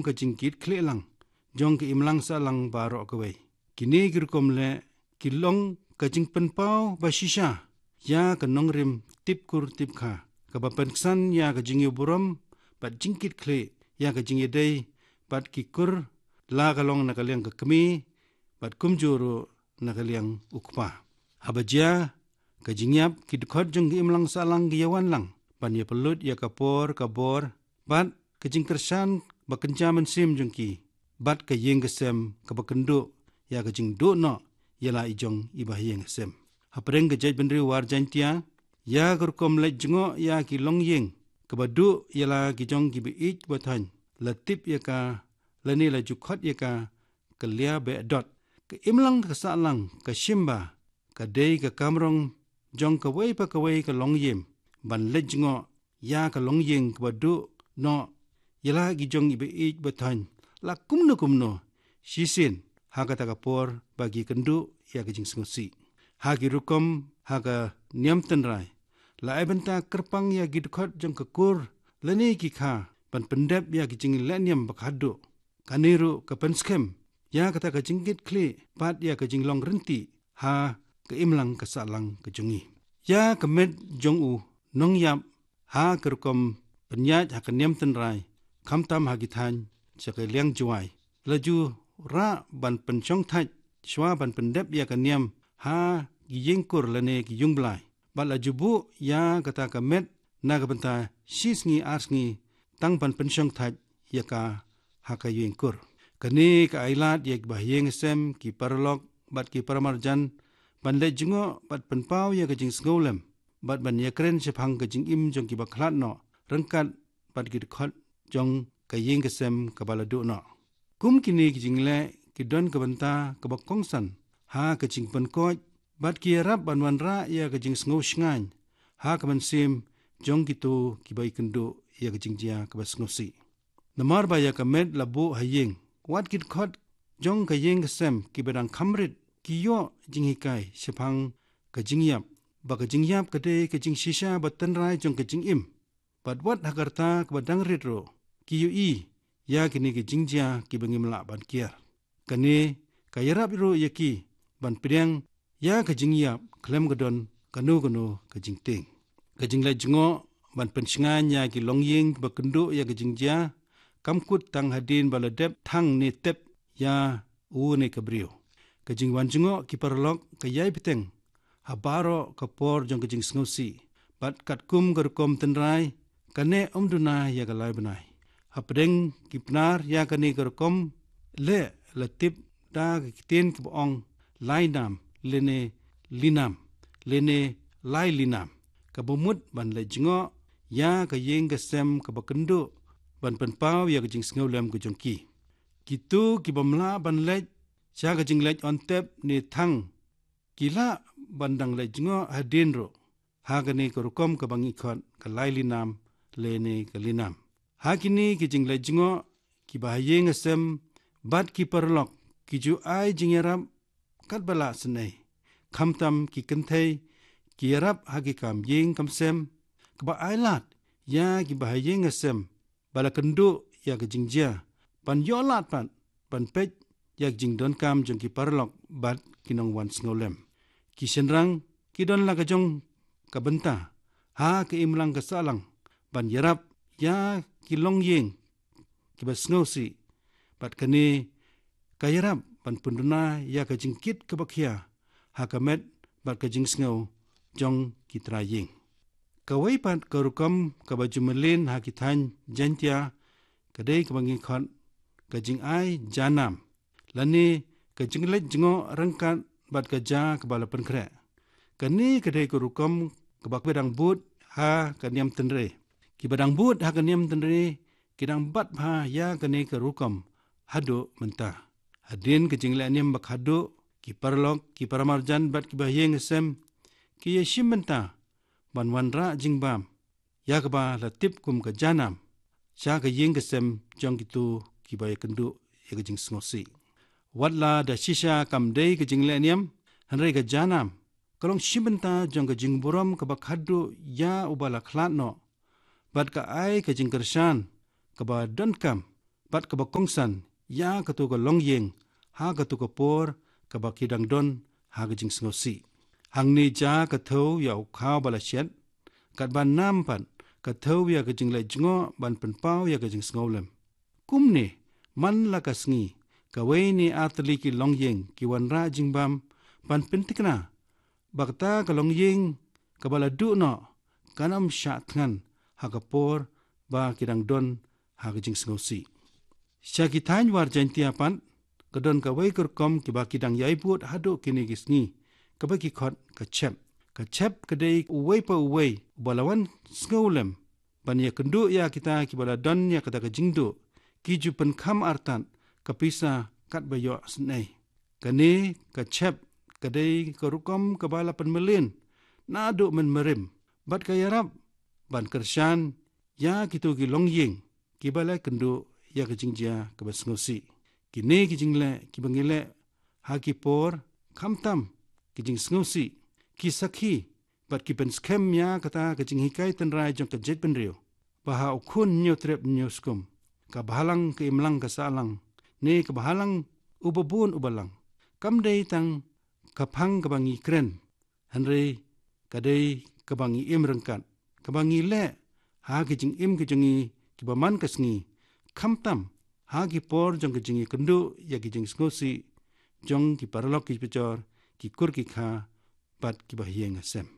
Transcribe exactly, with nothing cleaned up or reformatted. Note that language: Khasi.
ka jingkitkhlieh lang jong ka imlang sahlang baroh kawei. Kine ki rukom leh ki long ka jingpynpaw ba shisha ïa ka nongrim tipkur tipkha, kaba pynksan ïa ka jingïohi burom bad jingkitkhlieh ïa ka jingïadei bad ki kur, la ka long na ka liang ka kmie bad kumjuh ruh na ka liang u kpa. Haba jia ka jingïap, ki dkhot jong ka imlang sahlang ki ïawan lang ban ïapynlut ïa ka por ka bor bad ka jingkyrshan ba kynja mynsiem jong ki bad ka ïing ka sem kaba kynduh ïa ka jingduh noh ïa la i jong i bahaïing hasem. Hapdeng ka jaitbynriew War Jaiñtia, ïa ka rukom leit jngoh ïa ki longïing kaba duh ïa la ki jong ki ba ïeit ba thoiñ, la tip ïa ka lane la ju khot ïa ka ka lia behdot. Ka imlang ka sahlang ka shim ba ka dei ka kamrong jong kawei pa kawei ka longïing ban leit jngoh ïa ka longïing kaba duh noh ïa la ki jong i ba ïeit ba thoiñ, la kumno kumno shisien ha kata ka por ba ki kynduh ïa ka jingsngewsih. Ha ki rukom ha ka niam tynrai, la ai bynta kyrpang ïa ki dkhot jong ka kur lane ki kha ban pyndep ïa ki jinglehniam ba khadduh. Kane ruh ka pynskhem ïa kata ka jingkitkhlieh bad ïa ka jinglong rynti ha ka imlang ka sahlang ka jong ngi. Ïa ka met jong u nongïap ha ka rukom pynïaid ha ka niam tynrai, khamtam ha ki thaiñ sha ka liang Jowai, la ju rah ban pynshong thait shuwa ban pyndep ïa ka niam ha ki ïing kur lane ki ïung blai. Bad la ju buh ïa kata ka met na ka bynta shi sngi ar sngi tang ban pynshong thait ïa ka ha ka ïing kur. Kane ka ai lad ïa ki bahaïing hasem, ki paralok bad ki paramarjan ban leit jngoh bad pynpaw ïa ka jingsngewlem bad ban ïakren shaphang ka jingim jong ki ba khlad noh ryngkat bad ki dkhot jong ka ïing ka sem kaba la duh noh. Kum kine ki jingleh ki don ka bynta kaba kongsan ha ka jingpynkoit bad ki ïarap ban wanrah ïa ka jingsngew shngaiñ ha ka mynsiem jong kito ki ba ïakynduh ïa ka jingjia kaba sngewsih. Namar ba ïa ka met la buh ha ïing, wat ki dkhot jong ka ïing ka sem ki ba dang kham rit ki ïoh jinghikai shaphang ka jingïap, ba ka jingïap ka dei ka jingshisha ba tynrai jong ka jingim. Bad wat ha ka rta kaba dang rit ruh ki ïohi ïa kine ki jingjia ki ba ngim lah ban kiar. Kane ka ïarap ruh ïa ki ban pdiang ïa ka jingïap khlem ka don kano kano ka jingtieng. Ka jingleit jngoh ban pynshngaiñ ïa ki longïing ba kynduh ïa ka jingjia kam kut tang hadien ba la dep thang ne tep ïa u ne ka briew. Ka jingwan jngoh ki paralok ka ïai bteng ha baroh ka por jong ka jingsngewsih, bad katkum ka rukom tynrai, kane ym duna ïa ka lai bnai. Hapdeng ki Pnar, ïa kane ka rukom leh la tip da ka ktien kaba ong lai nam lane li nam lane lai li nam, kaba mut ban leit jngoh ïa ka ïing ka sem kaba kynduh ban pynpaw ïa ka jingsngewlem ka jong ki. Kito ki bym lah ban leit sha ka jingleit on tep ne thang, ki lah ban dang leit jngoh hadien ruh ha kane ka rukom kaba ngi khot ka lai li nam lane ka li nam. Ha kine ki jingleit jngoh, ki bahaïing hasem bad ki paralok ki ju ai jingïarap katba lah sngewsih. Khamtam ki kynthei ki ïarap ha ki kam ïing kam sem, kaba ai lad ïa ki bahaïing hasem ba la kynduh ïa ka jingjia ban ïoh lad pat ban peit ïa ka jingdonkam jong ki paralok bad ki nongwan sngewlem. Ki shynrang ki don la ka jong ka bynta ha ka imlang ka sahlang ban ïarap ïa ki longïing kiba sngewsih, bad kane ka ïarap ban pynduna ïa ka jingkit kaba khia ha ka met bad ka jingsngew jong ki trai ïing. Kawei pat ka rukom kaba ju mlien ha ki thaiñ Jaiñtia ka dei kaba ngi khot ka jingai ja nam, lane ka jingleit jngoh ryngkat bad ka ja kaba la pynkhreh. Kane ka dei ka rukom kaba ki ba dang bud ha ka niam tynrai. Ki ba dang bud ha ka niam tynrai ki dang bat bha ïa kane ka rukom haduh mynta. Hadien ka jingleh niam ba khadduh, ki paralok, ki paramarjan bad ki bahaïing hasem ki ïashim bynta ban wanrah jingbam ïa kaba la tip kum ka ja nam sha ka ïing ka sem jong kito kiba ïakynduh ïa ka jingsngewsih. Wat la da shisha kam dei ka jingleh niam, hynrei ka ja nam ka long shi bynta jong ka jingburom kaba khadduh ïa uba la khlad noh, bad ka ai ka jingkyrshan kaba donkam bad kaba kongsan ïa katu ka longïing ha katu ka por kaba ki dang don ha ka jingsngewsih. Hangne jia ka thew ïa u khaw ba la shet, katba nam pat ka thew ïa ka jingleh jngoh ban pynpaw ïa ka jingsngewlem. Kumne, man la ka sngi, kawei ne ar tylli ki longïing ki wanrah jingbam ban pyntikna ba kata ka longïing kaba la duh noh kan ym shah thngan ha ka por ba ki dang don ha ka jingsngewsih. Sha ki thaiñ War Jaiñtia pat ka don kawei ka rukom kiba ki dang ïai bud haduh kine ki sngi, kaba ki khot ka chep. Ka chep ka dei uwei pa uwei uba la wan sngewlem ban ïakynduh ïa kita kiba la don ïa kata ka jingduh, ki ju pynkham artat ka pisa katba ïohsnei. Kane ka chep ka dei ka rukom kaba la pynmlien naduh mynmarim bad ka ïarap ban kyrshan ïa kitu ki longïing kiba la kynduh ïa ka jingjia kaba sngewsih. Kine ki jingleh kiba ngi leh ha ki por khamtam ki jingsngewsih, ki sakhi bad ki pynskhem ïa kata ka jinghikai tynrai jong ka jaitbynriew, ba ha u khun hynñiew trep hynñiew skum, ka bhalang ka imlang ka sahlang, ne ka bhalang uba bun uba lang, kam dei tang ka phang kaba ngi kren, hynrei ka dei kaba ngi im ryngkat, kaba ngi leh ha ki jingim ki jong ngi kiba man ka sngi, khamtam ha ki por jong ka jingïakynduh ïa ki jingsngewsih jong ki paralok ki pajor, ki kur ki kha bad kiba ha ïing ha sem.